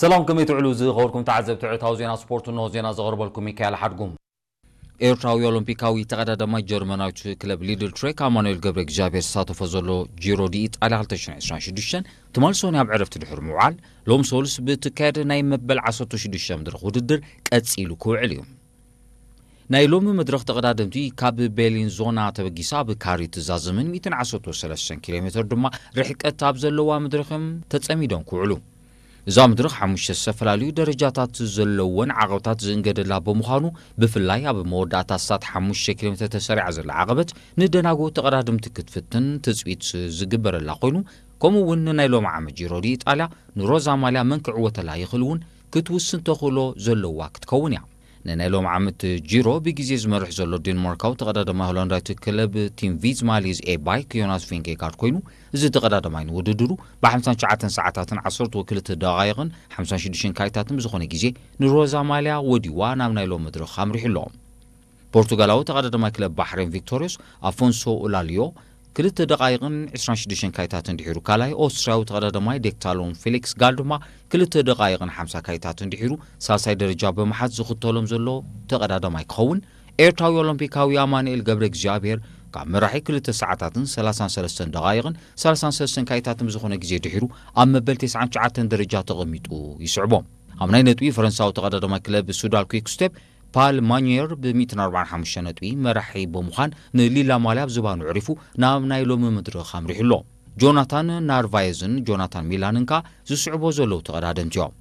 ሰላም፣ ከመይ ትውዕሉ ዝኸበርኩም ተዓዘብቲ ዕለታዊ ዜና ስፖርት? እንሆ ዜና ዘቕርበልኩም ሚካኤል ሓድጉም። ኤርትራዊ ኦሎምፒካዊ ተቐዳዳማይ ጀርመናዊት ክለብ ሊድል ትሬክ ኣማኑኤል ገብረ እግዚኣብሔር ዝሳተፎ ዘሎ ጂሮ ዲ ኢጣልያ ክልተ ሽሕን ዕስራን ሽዱሽተን ትማል ሶኒ ኣብ ዕረፍቲ ድሕሪ ምውዓል፣ ሎም ሶሉስ ብእትካየድ ናይ መበል ዓሰርተ ሽዱሽተ መድረኽ ውድድር ቀጺሉ ክውዕል እዩ። ናይ ሎሚ መድረኽ ተቐዳደምቲ ካብ ቤሊን ዞና ተበጊሳ ኣብ ካሪ ትዛዘምን ሚእትን ዓሰርተ ሰለስተን ኪሎ ሜትር ድማ ርሕቀት ኣብ ዘለዋ መድረኽም ተጸሚዶም ክውዕሉ። እዛ መድረኽ ሓሙሽተ ዝተፈላለዩ ደረጃታት ዘለዎን ዓቐብታት ዝእንገደላ ብምዃኑ፣ ብፍላይ ኣብ መወዳእታ ኣስታት ሓሙሽተ ኪሎ ሜትር ተሰሪዓ ዘላ ዓቐበት ንደናጎ ተቐዳደምቲ ክትፍትን ትጽቢት ዝግበረላ ኮይኑ፣ ከምኡ እውን ንናይ ሎሚ ዓመት ጂሮ ዲ ኢጣልያ ንሮዛ ማልያ መን ክዕወተላ ይኽእል እውን ክትውስን ተኽእሎ ዘለዋ ክትከውን እያ። ንናይ ሎም ዓመት ጂሮ ብግዜ ዝመርሕ ዘሎ ዴንማርካዊ ተቐዳዳማይ ሆላንዳዊት ክለብ ቲም ቪዝማ ሊዝ ኤ ባይክ ዮናስ ቪንጌጋርድ ኮይኑ፣ እዚ ተቐዳዳማይ ንውድድሩ ብ59 ሰዓታትን ዓሰርተ ክልተ ደቓይቕን ሓምሳን ሽዱሽተን ካይታትን ብዝኾነ ግዜ ንሮዛ ማልያ ወዲዋ ናብ ናይ ሎም መድረኽ ኣምሪሑ ኣሎ። ፖርቱጋላዊ ተቐዳዳማይ ክለብ ባሕሬን ቪክቶሪዮስ ኣፎንሶ ኡላልዮ ክልተ ደቓይቕን ዕስራን ሽዱሽተን ካይታትን ድሒሩ ካልኣይ፣ ኦስትርያዊ ተቐዳዳማይ ዴክታሎን ፌሊክስ ጋል ድማ ክልተ ደቓይቕን ሓምሳ ካይታትን ድሒሩ ሳልሳይ ደረጃ ብምሓዝ ዝኽተሎም ዘሎ ተቐዳዳማይ ክኸውን፣ ኤርትራዊ ኦሎምፒካዊ ኣማኑኤል ገብረ እግዚኣብሔር ካብ መራሒ ክልተ ሰዓታትን ሰላሳን ሰለስተን ደቓይቕን ሰላሳን ሰለስተን ካይታትን ብዝኾነ ግዜ ድሒሩ ኣብ መበል ተስዓን ትሽዓተን ደረጃ ተቐሚጡ ይስዕቦ። ኣብ ናይ ነጥቢ ፈረንሳዊ ተቐዳዳማይ ክለብ ሱዳል ኩክ ስቴፕ ፓል ማኒየር ብ ሚእትን ኣርባዓን ሓሙሽተ ነጥቢ መራሒ ብምዃን ንሊላ ማልያ ኣብ ዝባኑ ዕሪፉ ናብ ናይ ሎሚ መድረኽ ኣምሪሑ ኣሎ። ጆናታን ናርቫየዝን ጆናታን ሚላንን ከኣ ዝስዕቦ ዘለዉ ተቐዳደምቲ እዮም።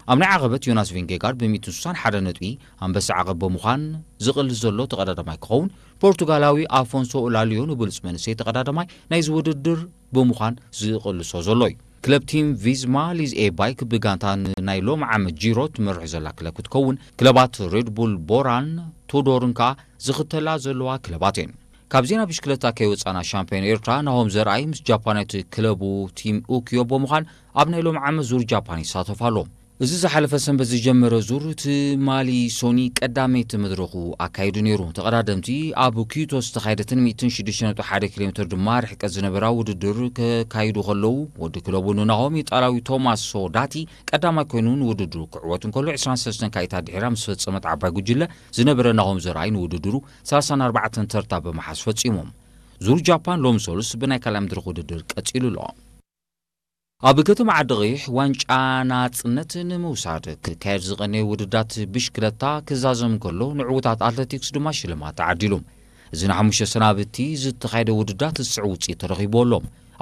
ኣብ ናይ ዓቐበት ዮናስ ቪንጌጋርድ ብ ሚእትን ስሳን ሓደ ነጥቢ ኣንበሳ ዓቐብ ብምዃን ዝቕልስ ዘሎ ተቐዳዳማይ ክኸውን፣ ፖርቱጋላዊ ኣፎንሶ ኡላልዮ ንብሉጽ መንእሰይ ተቐዳዳማይ ናይዚ ውድድር ብምዃን ዝቕልሶ ዘሎ እዩ። ክለብ ቲም ቪዝማ ሊዝ ኤ ባይክ ብጋንታ ንናይ ሎም ዓመት ጂሮ ትመርሕ ዘላ ክለብ ክትከውን፣ ክለባት ሬድቡል ቦራን ቱዶርን ከኣ ዝኽተላ ዘለዋ ክለባት እየን። ካብ ዜና ብሽክለታ ከይወጻና፣ ሻምፒዮን ኤርትራ ናሆም ዘርኣይ ምስ ጃፓናዊት ክለቡ ቲም ኡኪዮ ብምዃን ኣብ ናይ ሎም ዓመት ዙር ጃፓን ይሳተፍ ኣሎ። እዚ ዝሓለፈ ሰንበት ዝጀመረ ዙር ትማሊ ሶኒ ቀዳመይቲ መድረኹ ኣካይዱ ነይሩ። ተቐዳደምቲ ኣብ ኪዩቶ ዝተኻየደትን ሚእትን ሽዱሽተ ነጥቢ ሓደ ኪሎ ሜትር ድማ ርሕቀት ዝነበራ ውድድር ከካይዱ ከለዉ፣ ወዲ ክለቡ ንናሆም ኢጣልያዊ ቶማስ ሶዳቲ ቀዳማይ ኮይኑ ንውድድሩ ክዕወት እንከሎ፣ ዕስራን ሰለስተን ካይታት ድሒራ ምስ ፈጸመት ዓባይ ጉጅለ ዝነበረ ናሆም ዘርኣይ ንውድድሩ ሰላሳን ኣርባዕተን ተርታ ብምሓዝ ፈጺሞም። ዙር ጃፓን ሎም ሶሉስ ብናይ ካልኣይ መድረኽ ውድድር ቀጺሉ ኣሎ። ኣብ ከተማ ዓዲ ቐይሕ ዋንጫ ናጽነት ንምውሳድ ክካየድ ዝቐነየ ውድዳት ብሽክለታ ክዛዘም ከሎ፣ ንዕዉታት ኣትሌቲክስ ድማ ሽልማት ተዓዲሉ። እዚ ንሓሙሽተ ሰናብቲ ዝተኻየደ ውድዳት ዝስዕብ ውጽኢት ተረኺቡ ኣሎ።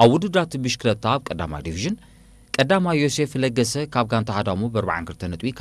ኣብ ውድዳት ብሽክለታ ኣብ ቀዳማይ ዲቪዥን ቀዳማይ ዮሴፍ ለገሰ ካብ ጋንታ ሃዳሙ ብ ኣርባዓን ክልተ ነጥቢ፣